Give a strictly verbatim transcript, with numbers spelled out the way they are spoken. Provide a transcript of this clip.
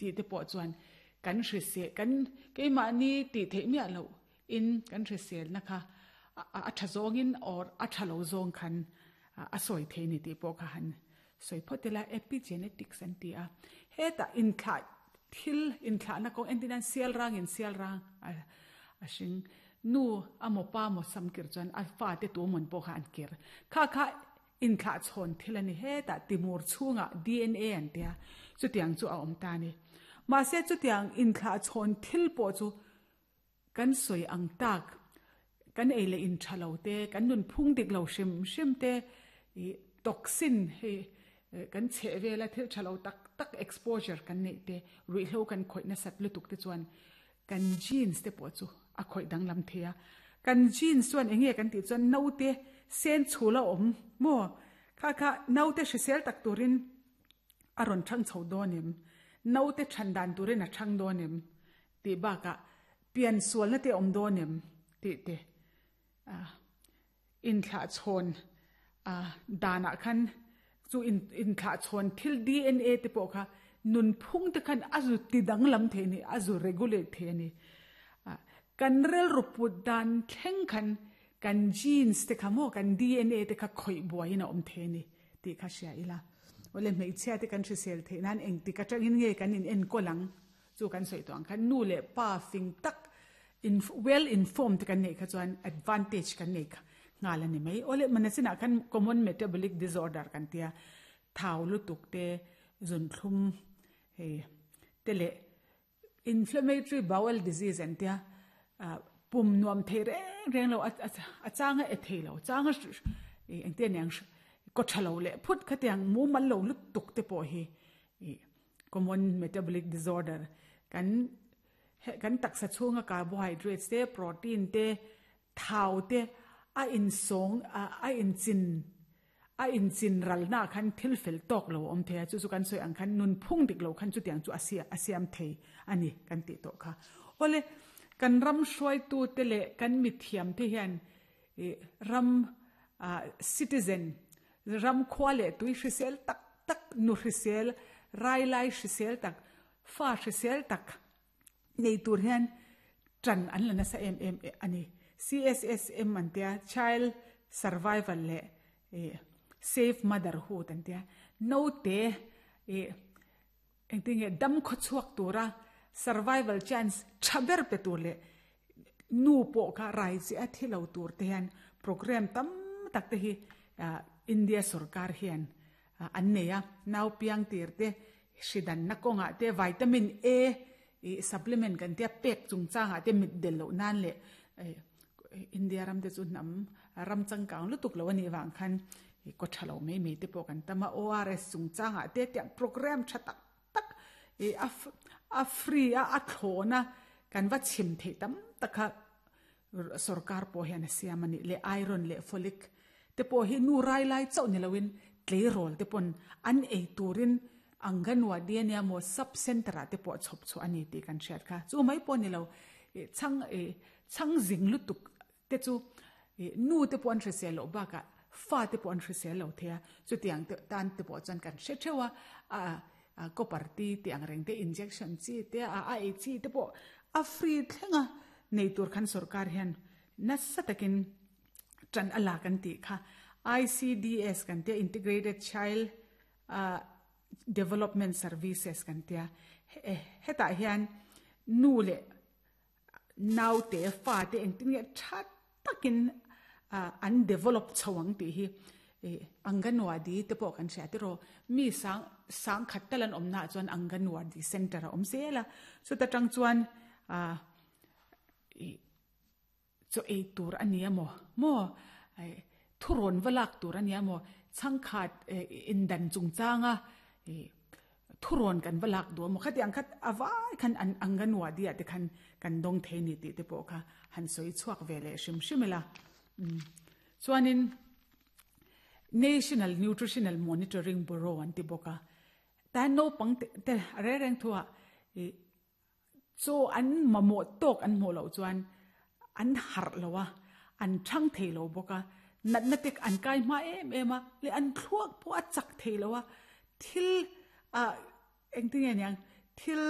Tih te pawh chuan kan hrisel kan keimahni tih theih miah loh in kan hriselna kha a tha zawngin or a tha lo zawng khan a sawi thei ni tih pawh kha han sawi phawt ila. Epigenetics an ti a, hetah inthlah thil inthlahna kawng entir nan sial rangin sial rang a hring nu amaw pa amaw sam kir chuan a fate tu amawn pawh kha an kir kha kha inthlah chhawn thil a ni. Hetah timur chhungah D N A an tia, chutiang chu a awm ta ni. Mahse chutiang inthlah chhawn thil pawh chu kan sawi ang tak kan ei leh in tha lo te, kan nun phung dik lo hrim hrim te, toxin hei kan chhe vela thil tha lo tak tak exposure kan nei te, ruihhlo kan khawih nasat lutuk te chuan kan genes te pawh chu a khawih danglam theia. Kan genes chuan enge kan tih chuan naute sen chhula awm maw kha kha naute hrisel tak turin a rawn thang chho dawn em, naute than dan turin a thang dawn em tih bakah pian sualna te awm dawn em tih te inthlah chhawn danah khan chu inthlah chhawn thil D N A te pawh kha nun phung te khan a zu ti danglam thei ni, a zu regulate thei ani. Kan rilru put dan thleng khan kan genes te kha maw kan D N A te kha khawih buaiin a awm thei ani tih kha hria ila. Ole, hmeichhia te kan hrisel theih nan engtik atangin nge kan in enkawl ang? Chu kan sawi tawh ang khan nu leh pa fing tak in well informed kan nei kha chuan advantage kan nei kha nghal ani mai. Ole, mana chinah khan common metabolic disorder kan tia, thau lutuk te, zunthlum hei te leh inflammatory bowel disease an tia, pum nuam thei reng reng lo, a changa e thei lo changa engte niang ko thalo leh phut khatiang mu mal lo lutuk te pawh hi common metabolic disorder. Kan kan taksa chhunga carbohydrates te, protein te, thau te a in sawng a in chin a in chin ral na khan thil fel tawk lo awm thei a. Chu chu kan sawi ang khan nun phung dik lo khan chutiang chu a siam thei ani kan tih tawh kha. Ole, kan ram hruaitu te leh kan mi thiam te hian ram citizen, ram khua leh tui hrisel tak tak, nu hrisel, rai lai hrisel tak, fa hrisel tak nei tur hian tran an la nasa em em ani. C S S M an tia, child survival leh safe motherhood an tia, naute engtinge dam khaw chhuak tura survival chance tha ber pe tur leh nu pawh kha rai chi a thi lo tur te hian program tam tak te hi India sarkar hian an nei a. Nau piang tir te hridan na kawnga te, vitamin A i supplement kan tia pek chungchanga te, mit del lo nan leh India ram te chu nam ram changkang lutuk lo ani wang khan ko thalo mai mai te pawh kan tama. O R S chungchanga te tiang program tha tak tak i a free a a thlona kan va chim thei tam taka sarkar pawh hian a siam ani le. Iron leh folic te pawh hi nu rai lai chauh ni loin tleirawl te pawn an ei turin anganwadi ania maw, sub center ah te pawh chhawp chu ani tih kan hriat kha. Chu mai pawh ni lo, chhang chhang zing lutuk te chu nu te pawh an hrisel loh bakah fa te pawh an hrisel lo thei a. Chutiang te tan te pawh chuan kan hre theuh a, a copper ti ti ang reng te, injection chi te, a a ei chi te pawh a free thlenga nei tur khan sarkar hian nasa takin tran ala kan tih kha. I C D S kan tia, Integrated Child Development Services kan tia, hetah hian nu leh nau te, fa te engtin nge tha takin an develop chhoang tih hi anganwadi te pawh kan hria tiraw. Mi sang sang khat talan awm na chuan anganwadi center a awm zela. Chuta tang chuan chaw ei tur ani amaw maw, thurawn valak tur ani amaw, chhangkhat indan chungchanga thurawn kan valak du amaw, khatiang khat awai khan an anganwadi ah te khan kan dawng thei ni tih te pawh kha han sawi chhuak ve leh hrim hrim ila. Chuanin National Nutritional Monitoring Bureau an ti bawk a, tan naupang te re reng thuah chaw an mamawh tawk an hmuh loh chuan an harh lo a, an thang thei lo bawk a, natna te an kai hma em em a leh an thluak pawh a chak thei lo a. Thil a engtinge niang thil